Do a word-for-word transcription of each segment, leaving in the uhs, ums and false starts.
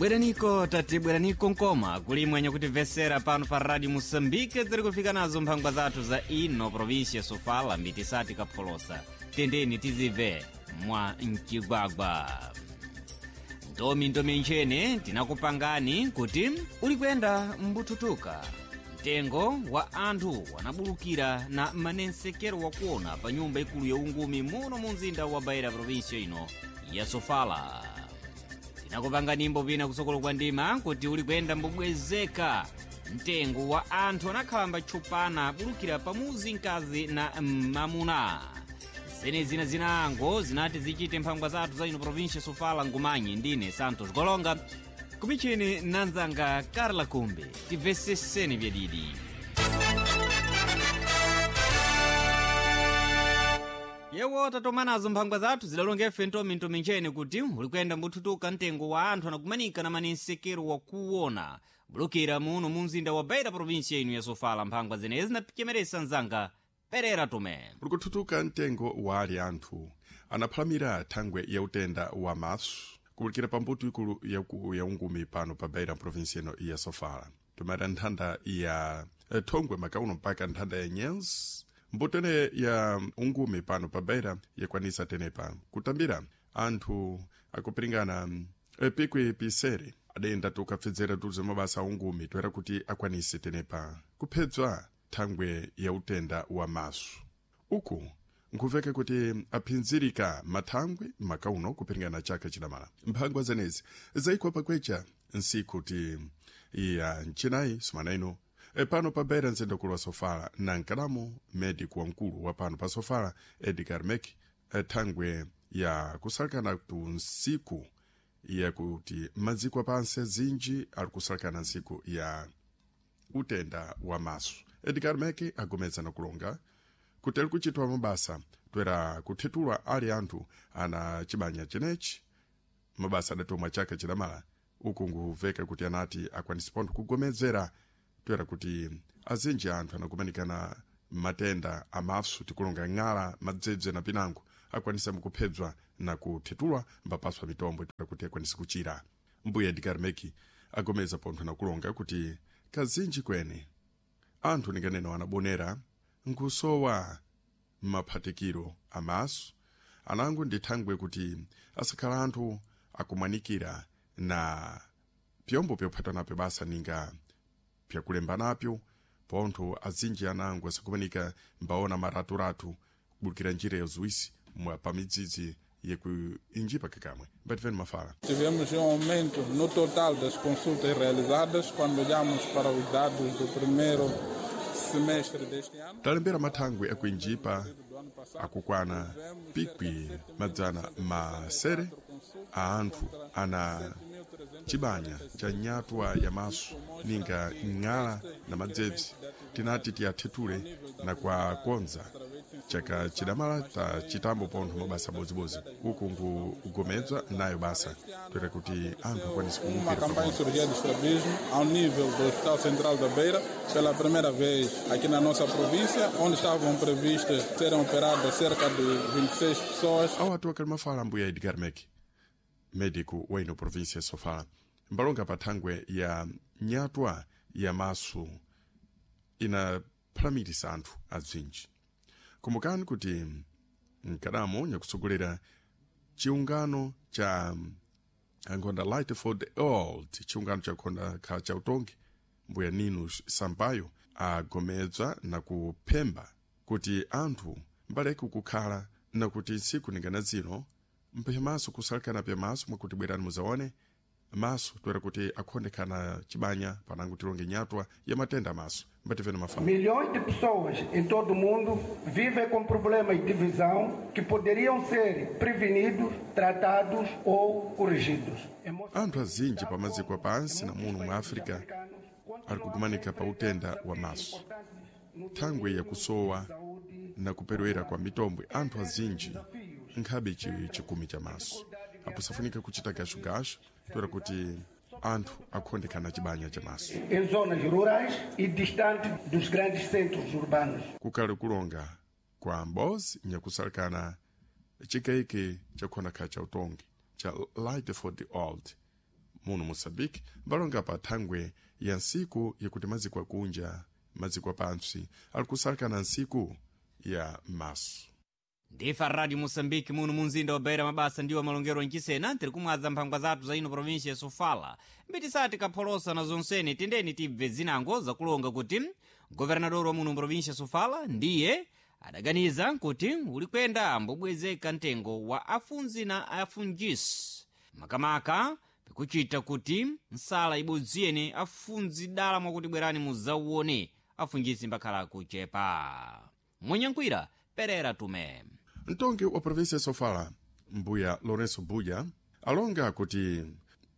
Bweraniko tati bweraniko nkoma kulimwe nyakutimvesera pano pa Radio Moçambique tiri kufika nazo mphangwa zathu za ino província Sofala mitisati kapholosa tendeni tizibve mwa mcigwagwa. Ndomi ndomi nchene tinakupangani kuti uli kuyenda mbututuka mtengo wa anthu wanabulukira na manensekero wakuona pa nyumba ikulu ya ungumi muno mu mzinda wa Beira província ino ya Sofala. Tinakupanga nimbo pina kusokolo kwa ndima kuti uli kuyenda mbubwezeka mtengo wa anthu anakhalamba tchupana abulukira pamuzi mkazi na mamuna. Zene zina zinango zinati zichite mphangwa zathu za ino província Sofala ngumanyi ndine Santos Golonga kumichini nanzanga Carla Kumbe tibveseseni vyadidi. Yewo tatomanazo mphangwa zathu zidalonga ife ntomintomi nchene kuti uli kuyenda mbuthutuka mtengo wa anthu anakumanika na manensekero wakuona bulukira muno mu mzinda wa Beira província ino ya Sofala. Mphangwa zenezi zinapichemeresa mzanga Perera Tume. Uli kuthutuka mtengo wa ali anthu anaphalamira thangwe ya utenda wa maso kubulikira pambuto ikulu yaku ya ungumi pano pa Beira província ino ya Sofala, tumata nthanda ya eh, thongwe makauno mpaka nthanda ya Nyenzi. Mbuto ene ya ungumi pano pa Beira yakwanisa tenepa kutambira anthu akupiringana eh, pikwi pisere adenda tukapfedzera tuze mabasa a ungumi toera kuti akwanise tenepa kuphedzwa thangwe ya utenda wa maso. Uku nkuveka kuti aphinzirika mathangwe makauno kupiringana chaka chidamala. Mphangwa zenezi zaikwa pakwecha nsiku ti ya mchinayi sumana ino e pano pa Beira mzinda ukulu wa Sofala na nkadamo medico wamkulu wa pano pa Sofala Edgar Mek thangwe ya kusalekana tu nsiku yakuti maziko apansi azinji ali kusalekana nsiku ya utenda wa maso. Edgar Mek agomeza na kulonga kuti ali kuchitwa mabasa toera kuthethulwa ali anthu ana chibanya chenechi mabasa adatomwa chaka chidamala. Uku nkuveka kuti anati akwanise pontho kugomezera toera kuti azinji anthu anakumanikana matenda amaso tikulonga ng'ala madzebze na pinango akwanisa mukuphedzwa na kuthethulwa mbapaswa mitombo toera kuti akwanise kuchira. Mbuya Edgar Meki agomeza pontho na kulonga kuti kazinji kwene anthu ninganeno anabonera nkusowa maphatikiro amaso anango ndi thangwe kuti asakhala anthu akumanikira na pyombo pyophata napyo basa ninga pyakulemba napyo pontho azinji anango asakumanika mbaona maraturatu kubulukira njira ya zuwisi mwa pamidzidzi yekuinjipa kakamwe mbativeni mafala. Tivemos um aumento no total das consultas realizadas quando olhamos para os dados do primeiro semestre deste ano. Talembera mathangwe akuinjipa akukwana pikwi madzana masere a anthu ana chibanya cha nyatwa ya maso ninga ng'ala na madzebzi tinati tiyathethule na kwakonza chaka chidamala ta chitambo pontho mabasa bozibozi uku nkugomedzwa nayo basa toera kuti anthu akwanise Uma kuwukira campanha pamodzi. de cirurgia de estrabismo ao nível do Hospital Central da Beira, pela primeira vez aqui na nossa província, onde estavam previstas serem operadas cerca de vinte e seis pessoas. Awo atu akali mafala mbuya Edgar Mek medico wa ino província ya Sofala mbalonga pa thangwe ya nyatwa ya maso inaphalamilisa anthu azinji. Kumbukani kuti mkadamo nyakutsogolera chiungano cha ankhonda Light for the Old, chiungano chakhonda kha cha utongi mbuya Nino Sampaio agomedzwa na kuphemba kuti anthu mbaleke kukhala na kuti ntsiku ningana zino mphe maso kusalekana pya maso mwakuti bwerani muzaone maso toera kuti akhondekana chibanya panango tilonge nyatwa ya matenda amaso mbativeni mafala. Milhões de pessoas em todo o mundo vivem com problemas de visão que poderiam ser prevenidos, tratados ou corrigidos. Anthu azinji pamaziko apansi na muno mu África ali kukumanika pa utenda wa maso thangwe yakusowa na kuperewera kwa mitombwe. Anthu azinji nkhabe chi- chikumi cha maso apo safunika kuchita gashugashu toera kuti anthu akhondekana chibanya cha maso Em zonas rurais e distantes dos grandes centros urbanos. Kukali kulonga kwa mbozi nyakusalekana chikaike chakhonakha cha utongi cha Light for the Old. Muno Moçambique mbalonga pa thangwe ya nsiku yakuti maziko akunja maziko apantsi ali kusalaka na nsiku ya maso. Ndifa Radio Moçambique muno munzinda wa Beira, mabasa ndiwo malongero nchisena tiri kumwadza mphangwa zathu za ino província ya Sofala. Mbitisati kapholosa na zonsene, tendeni tibve zinango zakulonga kuti governador wa muno província ya Sofala ndiye adaganiza kuti ulikwenda ambobwezeka mtengo wa afunzi na afunjisi, makamaka pikuchita kuti nsala ibodziyene afunzi dala mwakuti bwerani muzauone afunjisi mbakhala kuchepa. Mwenyankwira Perera Tume. Mtongi wa província ya Sofala mbuya Lourenço Buja alonga kuti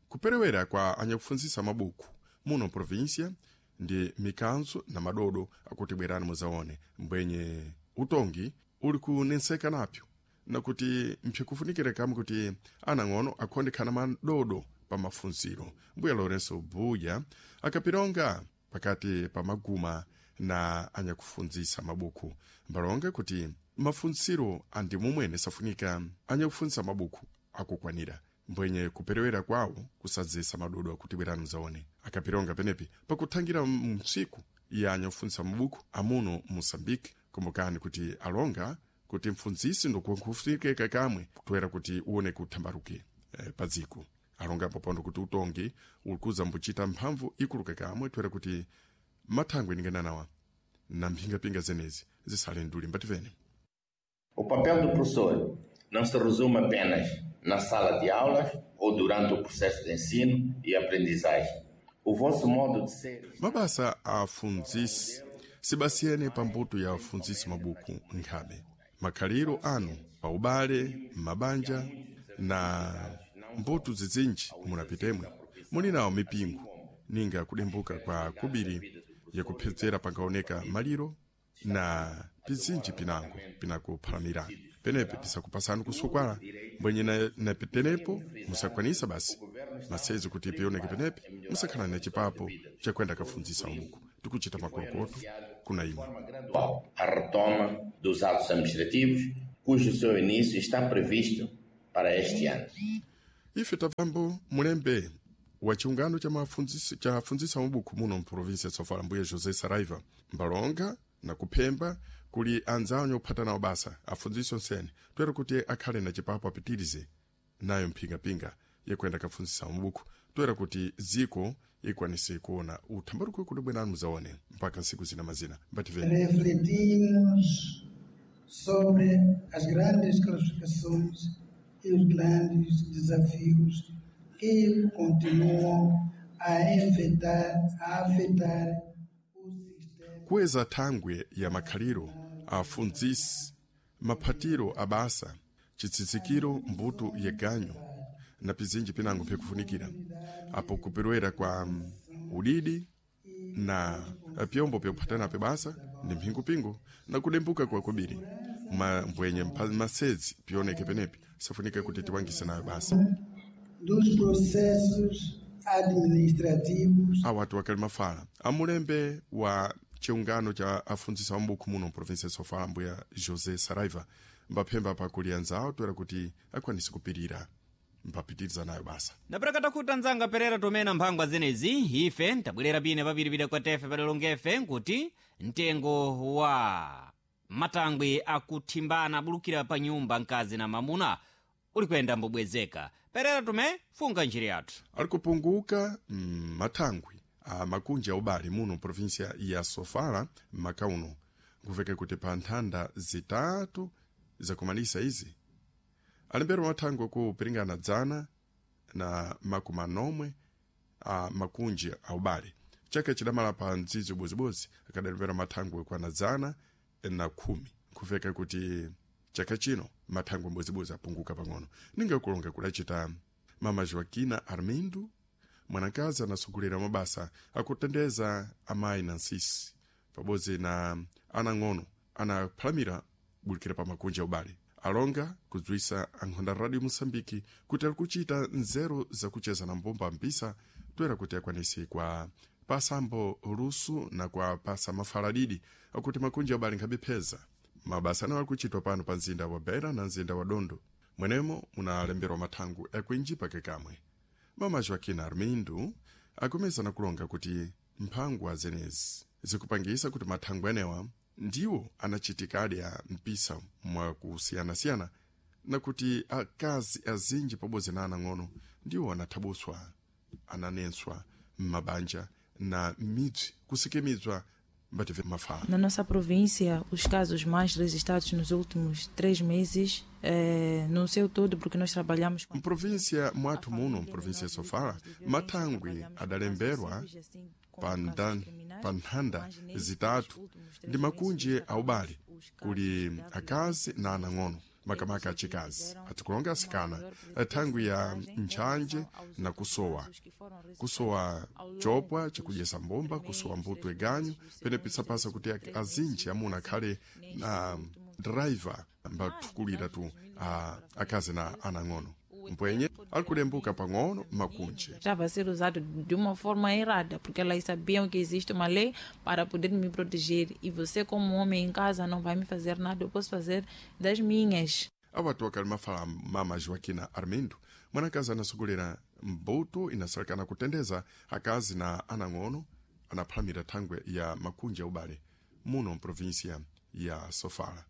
kuperewera kwa anyakufunzisa mabuku muno província ndi mikanzo na madodo akuti bwerani muzaone mbwenye utongi uli kunenseka napyo na kuti mphyikufunikire kamwe kuti anang'ono akhondekhana madodo pa mafunziro. Mbuya Lourenço Buja akapilonga pakati pa maguma na anyakufunzisa mabuku, mbalonga kuti mafunziro andi mumwene safunika anyakufunzisa mabuku akukwanira mbwenye kuperewera kwawo kusadzesa madodo akuti bwerani muzaone. Akapilonga penepi pakuthangira msiku ya anyakufunzisa mabuku amuno Moçambique. Kumbukani kuti alonga kuti mfunzisi ndikufunikeka kamwe kutwera kuti uone kuthambaruke eh, padziko. Alonga popondo kuti utongi ulikuza mbuchita mphamvu ikuluka kamwe twera kuti mathangwe ningananawa na mphingapinga zenezi zisale nduli mbativene. O papel do professor não se resume apenas na sala de aulas ou durante o processo de ensino e aprendizagem. O vosso modo de ser. Mabasa afunzisi sibasiyene pambuto ya afunzisi mabuku nkhabe. Makhaliro anu pa ubale, mabanja na mbuto zizinji munapitemwe muli nawo mipingo ninga kudembuka kwa kubiri yakuphedzera pangaoneka maliro na pizinji pinango pinakuphalamira penepe pisakupasani kusukwala mbwenye na, na penepo musakwanisa basi masezi kuti pioneke penepe musakhala na chipapo chakwenda kafunzisa umuku tikuchita makolokoto kuna imwe. Gradual, a retoma dos atos administrativos, cujo seu início está previsto para este ano. Ife tapambo mulembe wa chiungano cha mafunzisi cha afunzisa mabuku muno mprovinsia ya Sofala mbuye José Saraiva mbalonga na kuphemba kuli anzawo nyokuphata nawo basa afunzisi onsene twere kuti akhale na chipapo apitirize nayo mphingapinga yakwenda kafunzisa mabuku twera kuti ziko ikwanise kuona uthambaruko kuti bwenani muzaone mpaka nsiku zina mazina mbativeni. Refletimos sobre as grandes classificações e os grandes desafios que continuam a afetar, a afetar o sistema. Kuweza thangwe ya makhaliro afunzisi maphatiro abasa chitsitsikiro mbuto yeganyo na pizinji pinango phikufunikira apo kuperewera kwa mm, udidi na pyombo pyokuphatana pe basa ndi mphingupingo na kudembuka kwa kubiri ma mbwenye mpa- masedzi pioneke penepi safunika kuti tiwangise nayo basa. Dos processos administrativos Awatu wakali mafala amulembe wa chiungano cha afunzisa mabuku muno mprovinsia ya Sofala mbuya José Saraiva mbaphemba pakuli anzawo toera kuti akwanise kupirira mpapitiriza nayo basa. Napeleka kuti anzanga Perera Tomena mphangwa zenezi ife tabwerera pine papiripira kwa tefe padalongefe nkuti mtengo wa matangwe akuthimbana abulukira pa nyumba mkazi na mamuna ulikwenda mbobwezeka. Perera Tume, funga njira yathu. Ali kupunguka mm, mathangwi a makunji a ubale muno província ya Sofala maka uno nkuveka kuti pa nthanda zitatu zakumalisa izi alembera mathangwi kupiringana dzana na makumi anomwe a makunji a ubale chaka chidamala pa mdzidzi ubodzibodzi akadalembera mathangwi kwana dzana na khumi nkuveka kuti chaka chino mathangwi mbodzibodzi apunguka pang'ono ninga kulonga kudacita mama Joaquina Armindo mwanakazi anasugulira mabasa akutendeza amayi na nsisi pabodzi na anang'ono anaphalamira bulikira pa makunja a ubale alonga kudziwisa ankhonda radio Moçambique kuti ali kuchita nzeru zakucheza na mbumba mpisa toera kuti akwanise kwa pasambo lusu na kwa pasa mafaladidi akuti makunja a ubale nkhabipheza mabasa anawo ali kuchitwa pano pa mzinda wa Beira na mzinda wa Dondo mwenemo munalemberwa mathangu akwinji pake kamwe. Mama Joaquina Armindo akumeza na kulonga kuti mphangwa zenezi zikupangisa kuti mathangwe enewa ndiwo anachitikadi a mpisa mwakusiyanasiyana na kuti akazi azinji pabodzi na anang'ono ndiwo anathabuswa, ananenswa m'mabanja na m'midzi kusikimidzwa mbative mafala. Na nossa província, os casos mais registrados nos últimos três meses, eh, no seu todo, porque nós trabalhamos com. Mprovinsia mwathu muno, mprovinsia Sofala, mathangwi adalemberwa pa ndan- pa nthanda zitatu ndi makunji aubale kuli akazi na anang'ono, makamaka achikazi, atikulonga asikana, thangwi ya ntchanje na kusowa kusowa chopwa chakudyesa mbomba, kusowa mbuto iganyu pene pisapasa kuti azinji amuna akhale na driver mbathukulira tu a, akazi na anang'ono mpwenye alikulembuka pang'ono makunji. Estava a ser usado de uma forma errada, porque elas sabiam que existe uma lei para poder me proteger. E você, como homem em casa, não vai me fazer nada, eu posso fazer das minhas. Awatu akali mafala mama Joaquina Armindo, mwanakazi anasogolera mbuto inasalekana kutendeza akazi na anang'ono anaphalamira thangwe ya makunji aubale muno mprovinsia ya Sofala.